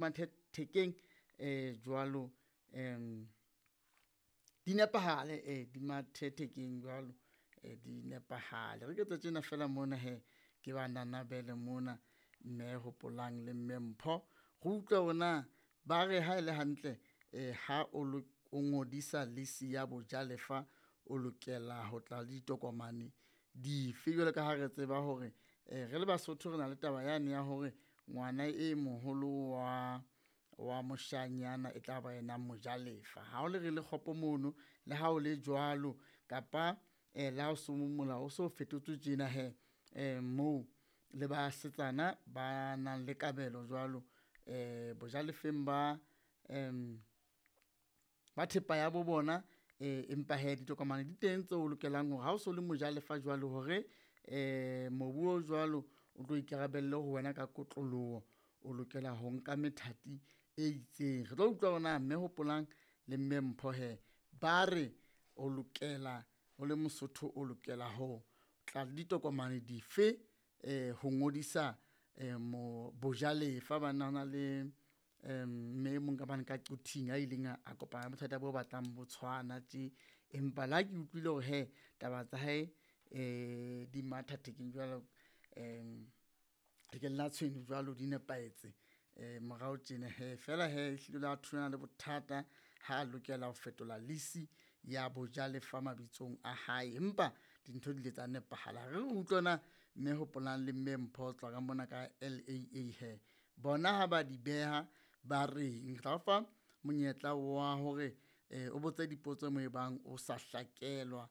Mathethekeng jwalo di nepahale, di mathethekeng jwalo, di nepahale. Re ke tjena fela mona he ke ba nanabele mona mme Hopolang le mme Mpho, re utlwe hore na ba re ha ele hantle ha o o ngodisa lease ya bojalefa, o lokela ho tla le ditokomane dife? Jwalo ka ha re tseba hore re le Basotho re na le taba yane ya hore ngwana e moholo wa moshanyana e tla ba yena mojalefa. Ha o le re le kgopo mono, le ha o le jwalo kapa le ha o so molao o so fetotswe tjena hee moo le basetsana ba nang le kabelo jwalo bojalefeng ba ba thepa ya bo bona. Empa hee ditokomane di teng tseo o lokelang hore ha o so le mojalefa jwalo hore mobu o jwalo o tlo ikarabelle ho wena ka kotloloho, o lokela ho nka methati e itseng. Re tlo utlwa hore na mme Hopolang le mme Mpho hee ba re o lokela o le Mosotho, o lokela ho tla le ditokomane dife ho ngodisa bojalefa. Banna hona le mme e mong ka mane ka Quthing a ileng a kopana le bothata bo batlang bo tshwana tje. Empa le ha ke utlwile hore hee taba tsa hae di matha thekeng jwalo thekeng la tshwene jwalo di nepahetse morao tjena hee. Feela hee ehlile o la thulana le bothata ha lokela ho fetola lease ya bojalefa mabitsong a hae, empa dintho di ile tsa nepahala. Re re utlwe na mme Hopolang le mme Mpho ho tswa ka mona ka LAA hee bona ha ba di beha ba reng. Re tla o fa monyetla wa hore o botse dipotso moo ebang o sa hlakelwa,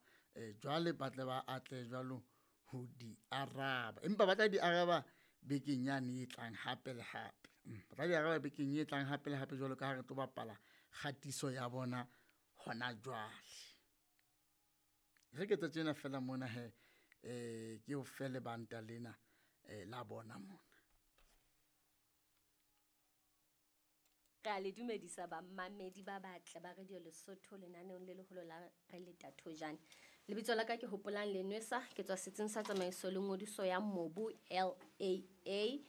jwale ba tle ba atlehe jwalo ho di araba, empa ba tla di araba bekeng yane e tlang hape le hape. Ba tla di araba bekeng e tlang hape le hape jwalo ka ha re tlo bapala kgatiso ya bona hona jwale. Re ke etse tjena fela mona hee ke o fe lebanta lena la bona mona. Re a le dumedisa bamamedi ba batle ba Radio Lesotho lenaneong le leholo la Re Leta Thojane. Lebitso la ka ke Hopolang Lenwesa, ke tswa setsing sa tsamaiso le ngodiso ya mobu LAA.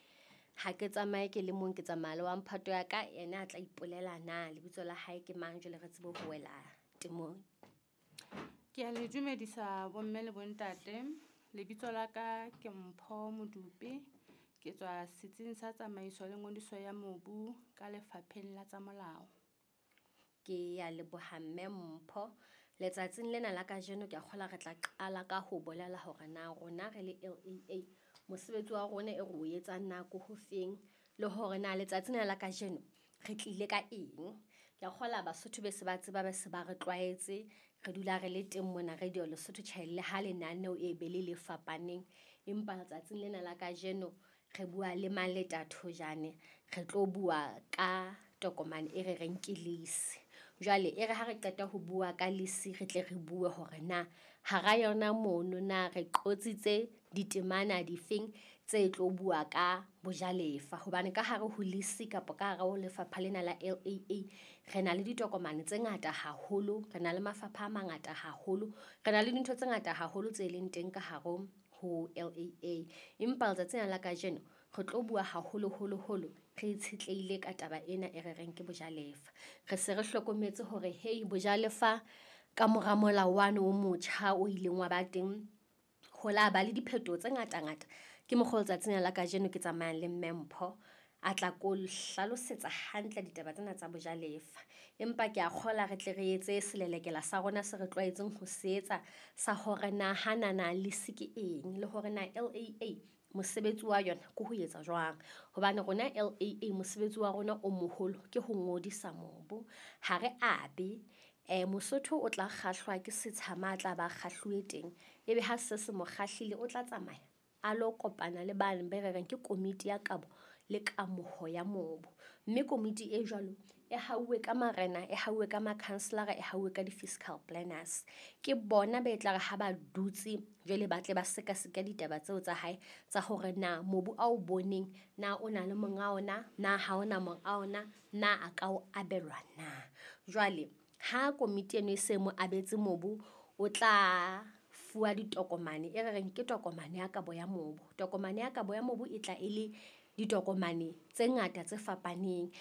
Ha ke tsamaye ke le mong, ke tsamaya le wa mphato ya ka, yena a tla ipolela na lebitso la hae ke mang, jwale re tsebe ho wela temong. Ke a le dumedisa bomme le bontate. Lebitso la ka ke Mpho Modupe. Ke tswa setsing sa tsamaiso le ngodiso ya mobu ka lefapheng la tsa molao. Ke ya leboha mme Mpho. Letsatsing lena la kajeno ke a kgolwa re tla qala ka ho bolela hore na rona re le LAA mosebetsi wa rona e re o etsang nako ho feng, le hore na letsatsing lena la kajeno re tlile ka eng. Ke a kgolwa Basotho be se ba tseba, be se ba re tlwaetse, re dula re le teng mona Radio Lesotho tjhe le ha lenaneo e be le le fapaneng, empa letsatsing lena la kajeno re bua le Maleta Thojane, re tlo bua ka tokomane e re reng ke lease. Jwale e re ha re qeta ho bua ka lease, re tle re bue hore na hara yona mono na re qotsitse ditemana difeng tse tlo bua ka bojalefa, hobane ka hare ho lease kapa ka hare ho lefapha lena la LAA re na le ditokomane tse ngata haholo, re na le mafapha a mangata haholo, re na le dintho tse ngata haholo tse leng teng ka hare ho LAA. Empa letsatsing la kajeno re tlo bua haholoholo-holo re itshetlehile ka taba ena e re reng ke bojalefa. Re se re hlokometse hore hei bojalefa ka mora molao wane o motjha o ileng wa ba teng, ho la ba le diphetoho tse ngata-ngata. Ke mokgwa letsatsing la kajeno ke tsamayang le mme Mpho a tla ko hlalosetsa hantle ditaba tsena tsa bojalefa. Empa ke a kgolwa re tle re etse selelekela sa rona se re tlwaetseng ho se etsa sa hore na hanana lease ke eng, le hore na LAA mosebetsi wa yona ke ho etsa jwang. Hobane rona LAA mosebetsi wa rona o moholo ke ho ngodisa mobu, ha re abe. Mosotho o tla kgahlwa ke setsha ma tla ba kgahluwe teng, ebe ha se se mo kgahlile o tla tsamaya a lo kopana le bane be re reng ke komiti ya kabo le kamoho ya mobu. Mme komiti e jwalo e hauwe ka marena, e hauwe ka makhanselara, e hauwe ka di-fiscal planners. Ke bona be tla re ha ba dutse jwale ba tle ba sekaseka ditaba tseo tsa hae tsa hore na mobu ao boneng na o na le monga ona, na ha ona monga ona, na a ka o abelwa na. Jwale ha komiti eno e se mo abetse mobu, o tla fuwa ditokomane e re reng ke tokomane ya kabo ya mobu. Tokomane ya kabo ya mobu e tla e le ditokomane tse ngata tse fapaneng.